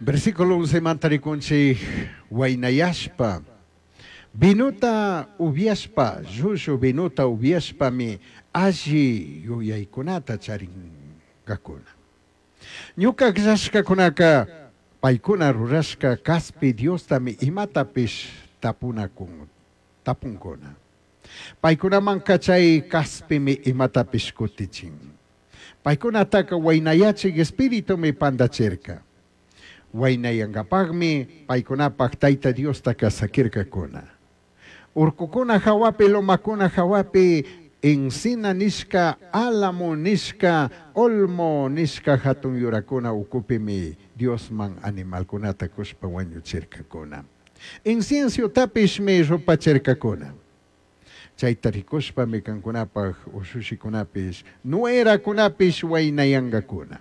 Versículo 11 manta ricunchij huainayashpa, vinota ubyashpa, llullu vinota ubyashpami alli yuyaicunata charingacuna. Ñuca agllashcacunaca paicuna rurashca caspi diostami imatapish tapunacun, tapuncuna. Paicunamanca chai caspimi imatapish cutichin. Paicunataca huainayachij espiritumi pandachirca. Huainayangapajmi paicunapaj Taita Diostaca saquircacuna. Urcucuna jahuapi, lomacuna jahuapi, encina nishca, álamo nishca, olmo nishca jatun yuracuna ucupimi Diosman animalcunata cushpa huañuchircacuna. Inciensiotapishmi rupachircacuna. Chaita ricushpami cancunapaj ushushicunapish, nueracunapish huainayangacuna.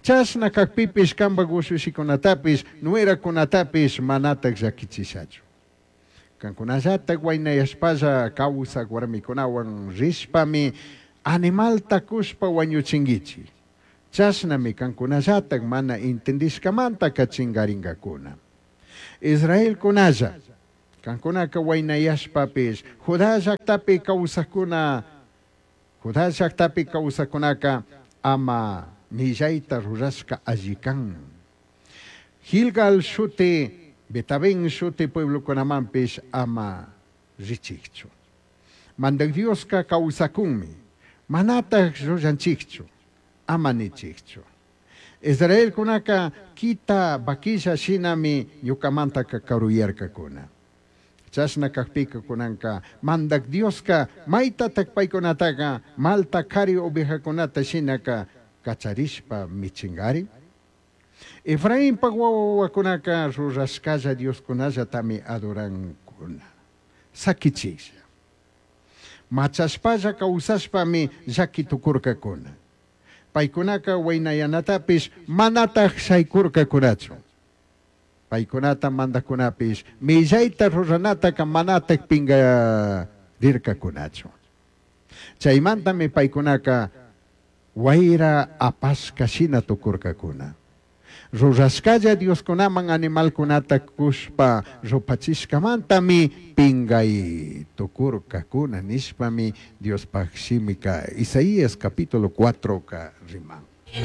Chashna cajpipish cambaj ushushicunatapish, nueracunatapish manataj llaquichishachu. Cancunallataj huainayashpalla causaj huarmicunahuan rishpami animalta cushpa huañuchinguichij. Chashnami cancunallataj mana intindishcamantaca chingaringacuna. Israelcunalla, cancunaca huainayashpapish Judá llajtapi causajcuna, Judá llajtapi causajcunaca ama millaita rurashca alli can. Gilgal shuti, Betabén shuti pueblocunamanpish ama richijchu. Mandaj Diosca causacunmi, manataj llullanchijchu, ama nichijchu. Israelcunaca quita vaquilla shinami ñucamantaca caruyarcacuna. Chashna cajpica cunanca Mandaj Diosca maitataj paicunataca malta cari ovejacunata shinaca cacharishpa michingari? Efrainpaj huahuacunaca rurashcalla dioscunallatami adorancuna. Saquichijlla. Machashpalla causashpami llaqui tucurcacuna. Paicunaca huainayanatapish manataj shaicurcacunachu. Paicunata mandajcunapish millaita ruranataca manataj pingarircacunachu. Chaimantami paicunaca huaira apashca shina tucurcacuna. Rurashcalla dioscunaman animalcunata cushpa rupachishcamantami pingai tucurcacuna nishpami Diospaj shimica Isaías capítulo 4 riman.